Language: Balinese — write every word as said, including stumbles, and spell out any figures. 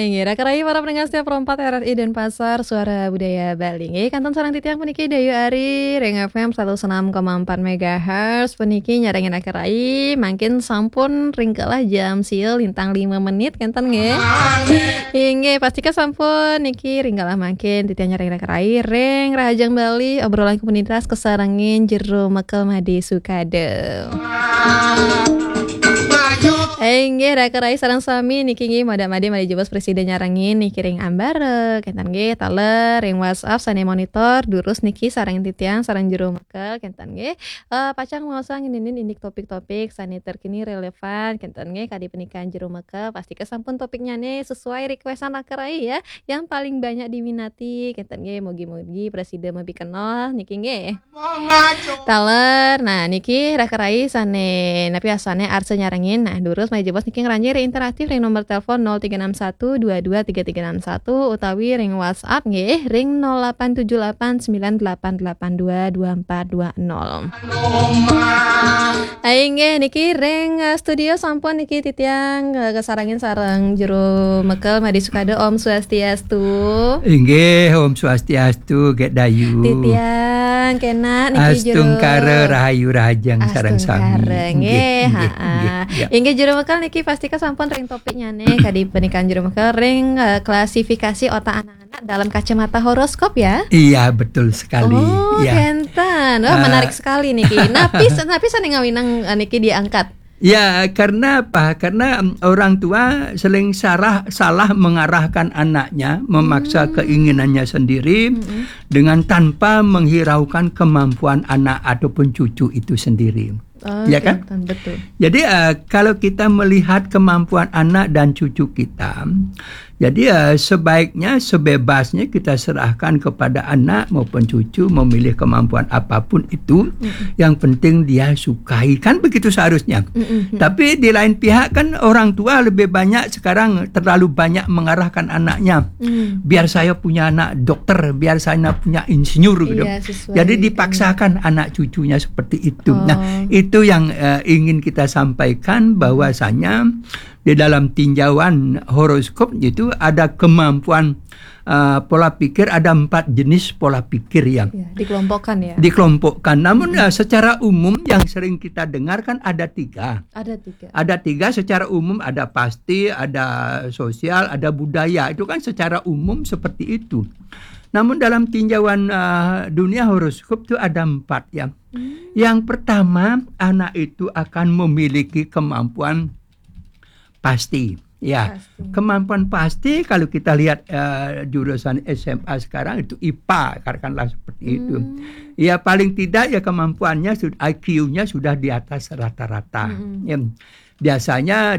Inggih, Raka Rai para pendengar setia Pro empat R R I Denpasar, Suara Budaya Bali. Inggih, kantun sareng titiang puniki Dayu Ari ring F M satus enam koma empat megahertz. Puniki nyarengin Raka Rai, mangkin sampun ring kelah jam sia lintang lima menit, kenten nggih. Inggih, pastika sampun niki ring kelah mangkin titiang nyarengin Raka Rai ring Rahajeng Bali, obrolan komunitas kasarengin Jero Mekel Made Sukada. Inggih, Raka Rai sareng sami niki inggih mada-madi malih jebos prasida nyarengin niki ring ambara, kenten nggih, taler ring WhatsApp sane monitor, durus niki sareng titiang, sareng Jero Mekel, kenten nggih. Eh, pacang maosang ngeninin indik topik-topik sane terkini relevan, kenten nggih, kadi panikan Jero Mekel, pastika sampun topiknyane sesuai requestan Raka Rai ya, yang paling banyak diminati, kenten nggih, mugi-mugi prasida mabikenol niki nggih. Taler, nah niki Raka Rai sane napi asane arsa nyarengin. Nah, durus malih jebos niki ngranjing ring interaktif ring nomor telepon nol tiga enam satu dua dua tiga tiga enam satu utawi ring WhatsApp nggih ring nol delapan tujuh delapan sembilan delapan delapan dua dua empat dua nol. Inggih niki ring eh, studio sampun niki titiang eh, kasarengin sareng Jero Mekel Made Sukada, Om Swastiastu. Inggih, Om Swastiastu, Gek Dayu. Titiang kena niki Jero. Astungkara rahayu rahajeng sareng sami. Astungkara, nggih, nggih, ha, nggih, ha. Ya. Inggih, Jero Mekel niki pastika sampun ring topiknyane kadi panikan Jero Mekel ring eh, klasifikasi otak anak-anak dalam kacamata horoskop ya. Iya, betul sekali. Oh, ya. Kenten. Wah, eh, menarik sekali niki. Napi napi sane ngawinang eh, niki diangkat? Ya, karena apa? Karena em, orang tua sering salah salah mengarahkan anaknya, memaksa hmm. keinginannya sendiri hmm. dengan tanpa menghiraukan kemampuan anak ataupun cucu itu sendiri. Oh, ya kan? Betul. Jadi uh, kalau kita melihat kemampuan anak dan cucu kita, jadi uh, sebaiknya sebebasnya kita serahkan kepada anak maupun cucu memilih kemampuan apapun itu. Mm-mm. Yang penting dia sukai, kan begitu seharusnya. Mm-mm. Tapi di lain pihak kan orang tua lebih banyak sekarang terlalu banyak mengarahkan anaknya. Mm. Biar saya punya anak dokter, biar saya punya insinyur gitu. Iya, sesuai. Jadi dipaksakan anak cucunya seperti itu. Oh. Nah, itu yang uh, ingin kita sampaikan bahwasanya di dalam tinjauan horoskop itu ada kemampuan uh, pola pikir, ada empat jenis pola pikir yang ya, dikelompokkan ya. Dikelompokkan. Namun hmm. uh, secara umum yang sering kita dengar kan ada tiga. Ada tiga. Ada tiga secara umum, ada pasti, ada sosial, ada budaya. Itu kan secara umum seperti itu. Namun dalam tinjauan uh, dunia horoskop itu ada empat ya. Hmm. Yang pertama, anak itu akan memiliki kemampuan pasti. Ya, pasti. Kemampuan pasti kalau kita lihat uh, jurusan S M A sekarang itu I P A, katakanlah seperti hmm. itu. Ya paling tidak ya kemampuannya I Q-nya sudah di atas rata-rata. Hmm. Ya. Biasanya